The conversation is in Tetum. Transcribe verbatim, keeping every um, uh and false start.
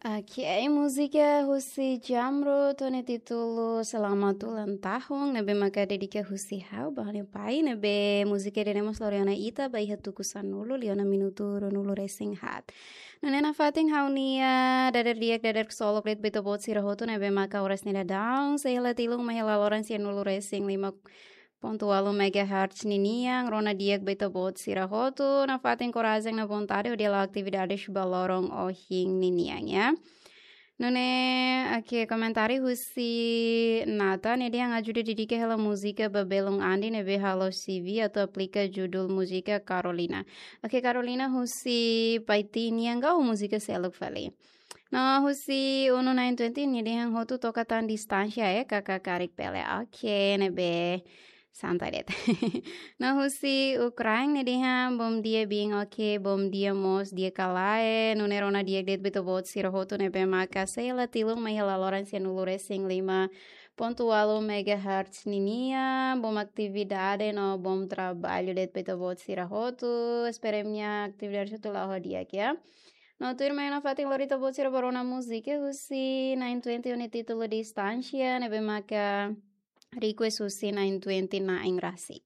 Ok, múzika husi Jamrud ho nia títulu Selamat Ulang Tahun, ne'ebé maka dedika husi ha'u ba ha'u-nia pai, ne'ebé múzika ida-ne'e mós lori ona ita ba iha tuku sanulu liu ona minutu ruanulu resin haat. Nune'e nafatin ha'u-nia dadeer di'ak, dadeer ksolok de'it ba ita-boot sira hotu, ne'ebé maka oras ne'e daudaun sei hela tilun mai hela loron sianulu resin lima pontu ualu megahertz ninian, rona di'ak ba ita-boot sira hotu, nafatin korajen no vontade hodi hala'o atividades ba loron ohin ninian, ya. Nune'e, ok, komentáriu husi Nata, nia dehan ajuda dedika hela múzika ba belun Andi ne'ebé halo C V atu aplika judul múzika Carolina. Ok, Carolina husi Paiti nian ka ho múzika seluk fali. No husi Unu nine twenty nia dehan hotu toka tan distánsia, eh, kaka karik pele. Ok, ne'ebé santai de'it. No husi Ukraina nia dehan bom dia bin, ok, bom dia mós, di'ak ka lae, nune'e rona di'ak de'it ba ita-boot sira hotu, ne'ebé maka sei hela tilun mai hela loron sianulu resin lima pontu ualu megahertz ninian, bom atividade no bom trabalho de'it ba ita-boot sira hotu, espera imi-nia atividade hotu la'o ho di'ak, ya. No tuirmai nafatin lori ita-boot sira ba rona múzika husi nine twenty ho nia títulu Distánsia, ne'ebé maka request husi nine twenty na'in rasik.